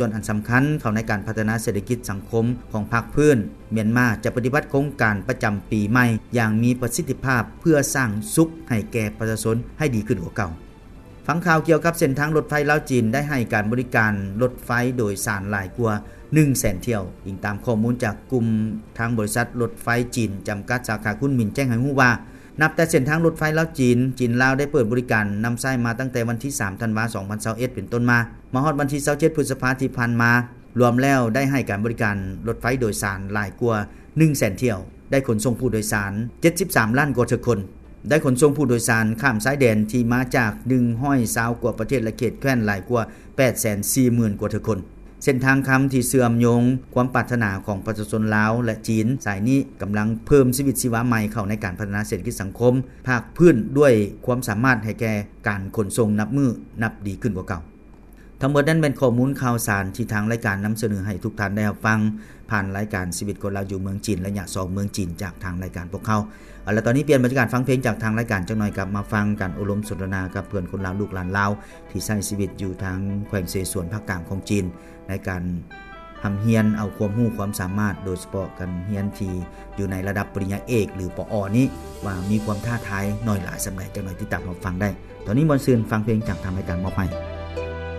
ສ່ວນອັນສຳຄັນເຂົ້າໃນການພັດທະນາເສດຖະກິດສັງຄົມຂອງພາກພື້ນ. ມຽນມາຈະປະຕິບັດໂຄງການປະຈຳປີໃໝ່ຢ່າງມີປະສິດທິພາບ ເພື່ອສ້າງສຸກໃຫ້ແກ່ປະຊາຊົນໃຫ້ດີຂຶ້ນກວ່າເກົ່າ. ຟັງຂ່າວກ່ຽວກັບເສັ້ນທາງລົດໄຟລາວ-ຈີນ ໄດ້ໃຫ້ການບໍລິການລົດໄຟໂດຍສານຫຼາຍກວ່າໜຶ່ງແສນຖ້ຽວ, ອີງຕາມຂໍ້ມູນຈາກກຸ່ມທາງບໍລິສັດລົດໄຟຈີນຈຳກັດ ສາຂາຄຸນໝິນ ແຈ້ງໃຫ້ຮູ້ວ່າ ນັບແຕ່ເສັ້ນທາງລົດໄຟລາວ-ຈີນ, ຈີນ-ລາວ ໄດ້ເປີດບໍລິການນຳໃຊ້ມາຕັ້ງແຕ່ວັນທີສາມ ທັນວາ ສອງພັນຊາວເອັດ ເປັນຕົ້ນມາ, ມາຮອດວັນທີຊາວເຈັດ ພຶດສະພາທີ່ຜ່ານມາ, ລວມແລ້ວໄດ້ໃຫ້ການບໍລິການລົດໄຟໂດຍສານຫຼາຍກວ່າໜຶ່ງແສນຖ້ຽວ, ໄດ້ຂົນສົ່ງຜູ້ໂດຍສານເຈັດສິບສາມລ້ານກວ່າເທື່ອຄົນ, ໄດ້ຂົນສົ່ງຜູ້ໂດຍສານຂ້າມຊາຍແດນທີ່ມາຈາກໜຶ່ງຮ້ອຍຊາວກວ່າປະເທດ ແລະ ເຂດແຄວ້ນຫຼາຍກວ່າແປດແສນສີ່ໝື່ນກວ່າເທື່ອຄົນ. ເສັ້ນທາງຄຳທີ່ເຊື່ອມໂຍງຄວາມປາດຖະໜາຂອງປະຊາຊົນລາວ ແລະ ຈີນ ສາຍນີ້ກຳລັງເພີ່ມຊີວິດຊີວາໃໝ່ເຂົ້າໃນການພັດທະນາເສດຖະກິດສັງຄົມພາກພື້ນ ດ້ວຍຄວາມສາມາດໃຫ້ແກ່ການຂົນສົ່ງນັບມື້ນັບດີຂຶ້ນກວ່າເກົ່າ. ທັງໝົດນັ້ນແມ່ນຂໍ້ມູນຂ່າວສານທີ່ທາງລາຍການນຳສະເໜີໃຫ້ທຸກທ່ານໄດ້ຮັບຟັງ ຜ່ານລາຍການຊີວິດຄົນລາວຢູ່ເມືອງຈີນ ໄລຍະສອງເມືອງຈີນ ຈາກທາງລາຍການພວກເຮົາ. ເອົາລະ ຕອນນີ້ປ່ຽນບັນຍາກາດຟັງເພງຈາກທາງລາຍການຈັກໜ່ອຍ, ກັບມາຟັງການໂອ້ລົມສົນທະນາກັບເພື່ອນຄົນລາວ ລູກຫຼານລາວ ທີ່ໃຊ້ຊີວິດຢູ່ທາງແຂວງເສສວນ ພາກກາງຂອງຈີນ ໃນການຮ່ຳຮຽນເອົາຄວາມຮູ້ຄວາມສາມາດ, ໂດຍສະເພາະການຮຽນທີ່ຢູ່ໃນລະດັບປະລິນຍາເອກ ຫຼື ປອ ນີ້ ວ່າມີຄວາມທ້າທາຍໜ້ອຍຫຼາຍສ່ຳໃດ, ຈັກໜ່ອຍຕິດຕາມຮັບຟັງໄດ້. ຕອນນີ້ມ່ວນຊື່ນຟັງເພງຈາກທາງລາຍການມອບໃຫ້.